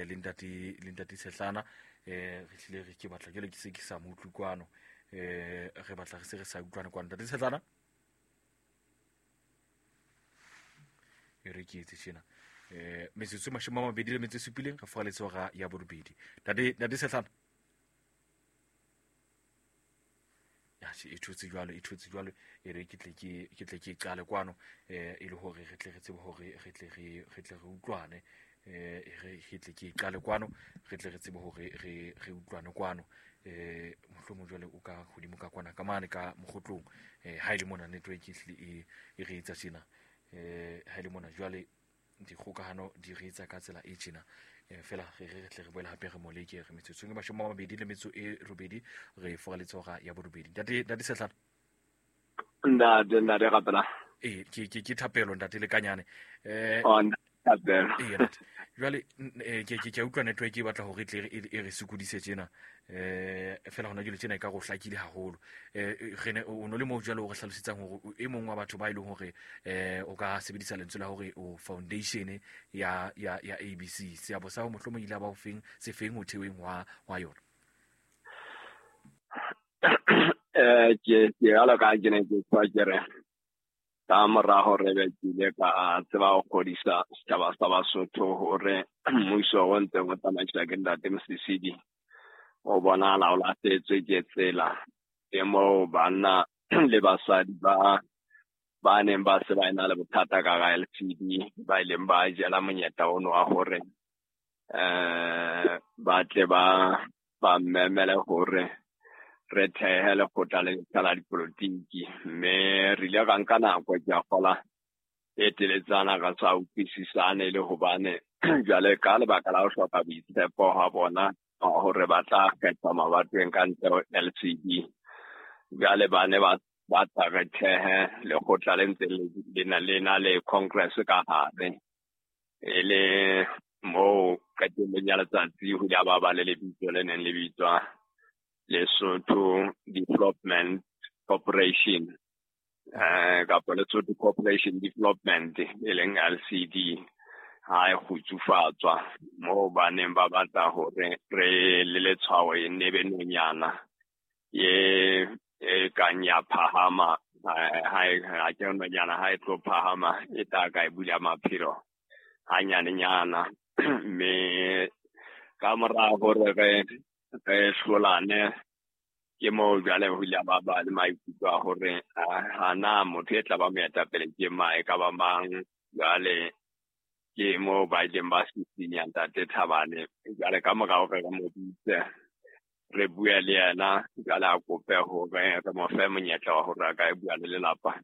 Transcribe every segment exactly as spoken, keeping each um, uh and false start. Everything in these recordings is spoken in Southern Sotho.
eh le ntate le ntate Sehlana eh re hlile re ke batla jwale ke se ke sa mo utlwe kwano eh re batla re se re sa utlwane kwano ntate Sehlana e re ke etse tjena eh metsotso e mashome a mabedi le metso e supileng re furaletse hora ya borobedi ntate ntate Sehlana e thotse jwalo e thotse jwalo e re ke tle ke ke tle ke qale kwano eh e le hore re tle re tsebe hore re tle re re tle re utlwane eh re ke tle ke qale kwano re tle re tsebe hore re re utlwane kwano eh mohlomong jwale o ka hodimo ka kwana ka mane ka mogotlong eh ha ile mona network e hlile e e re etsa tjena eh ha ile mona jwale dikgokahano di re etsa ka tsela e tjena fela re re tle re boela hape re moleke re metsotsong e mashome a mabedi le metso e robedi re furaletse hora ya borobedi ntate ntate Sehlana ntate ntate rapela eh ke ke ke thapelo ntate Lekanyane eh thapelo eh ntate jwale ke ke ke utlwa network e batla hore tle e re sokodise tjena eh fela hona jwale tjena e ka go hlakile haholo eh re ne o no le mo jwale o re hlalosetsang hore e mong wa batho ba ile hore eh o ka sebedisa lentswe la hore o foundation ya ya ya A B C seabo sa ho mohlomong ile ba o feng se feng ho theweng wa wa yona eh ke ke ala ka ke ne ke tswa ke re ka mora hore be ke ile ka tseba ho kgodisa setjhaba sa Basotho hore mmuso o ntse o tsamaiswa ke ntate Mosisili o bonahala o lahlehetswe ke tsela e moo banna le basadi ba ba neng ba se ba ena le bothata ka ga L C D ba ileng ba jela monyetla ono wa hore eh ba tle ba ba mmemele hore re thehe lekgotla le letjha la dipolotiki mme re ile ra nka nako ke a kgola e teletsana ra sa utlwisisane le hobane jwale ka lebaka la ho hloka boitshepo ha bona hore ba tla kgetha mabatoweng ka ntle ho L C D jwale ba ne ba ba tla re thehe lekgotla le ntse le na le na le congress ka hare e le moo qetellong ya letsatsi ho ile ba ba le lebitso le neng le bitswa Lesotho Development Corporation eh kapa Lesotho Corporation Development e leng L C D ha e kgutsufatswa moo ba neng ba batla hore re le letshwao e nne be nonyana ye e kang ya phahama ha e ha ke nonyana ha e tlo phahama e tla ka e bula maphelo hanyanenyana mme ka mora hore re re hlolane ke moo jwale ho ile ba ba le maikutlo a hore hana motho e tla ba moetapele ke mang e ka ba mang jwale ke moo ba ileng ba sisinya ntate Thabane jwale ka mora hore re mo bitse re bue le yena jwale a kope hore re mo fe monyetla wa hore a ka e bua le lelapa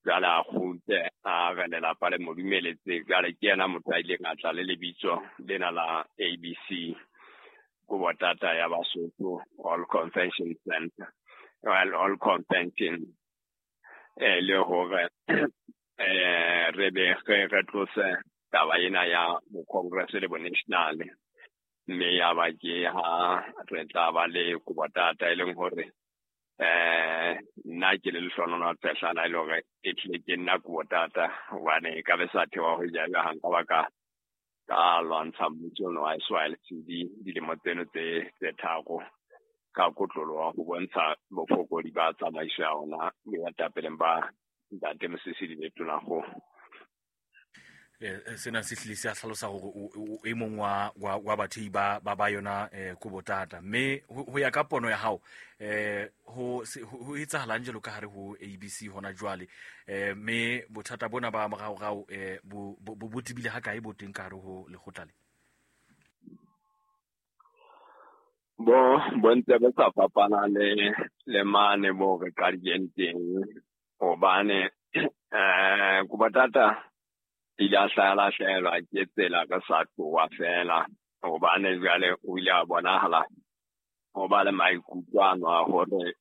jwale a kgutle a re lelapa le mo dumeletse jwale ke yena motho a ileng a tla le lebitso lena la A B C Kubotata ya Basotho All Convention Center well all convention eh le hore eh re be re tlose taba ena ya bo congress le bo national mme ya ba ke ha re tla ba le Kubotata e leng hore eh nna ke le Lehlohonolo Tshehlana e le hore e tlile ke nna Kubotata hobane e ka be sa thewa ho ja ha nka ba ka ka lwantsha mmuso ono wa S Y L C D dilemo tseno tse tse tharo ka kotloloha ho bontsha bofokodi ba tsamaiso ya ona boetapeleng ba ntate Mosisili le Tonakgolo. Eh sena se hlile se a hlalosa hore o e mong wa wa bathei ba ba ba yona eh Kubotata mme ho ya ka pono ya hao eh ho ho etsahalang jwalo ka hare ho A B C hona jwale eh mme bothata bona ba moraorao eh bo bo tebile ha kae bo teng ka hare ho lekgotla le bo bo ntse bo sa fapana le le mane mo re qadileng teng hobane eh Kubotata ile a hlahelwa ke tsela ka sa tloha fela hobane jwale o ile a bonahala ho ba le maikutlo ano a hore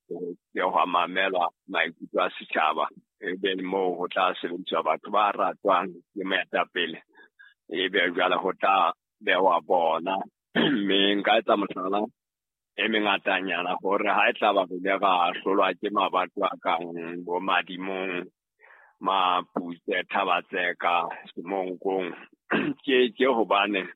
ke ho mamelwa maikutlo a setjhaba ebe moo ho tla sebediswa batho ba ratwang ke moetapele ebe jwale ho tla behwa bona mme nka etsa mohlala e mengatanyana hore ha e tla ba re ile ra hlolwa ke mabato a kang bo Madimong Maputse, Thabatseka, Semonkong ke ke hobane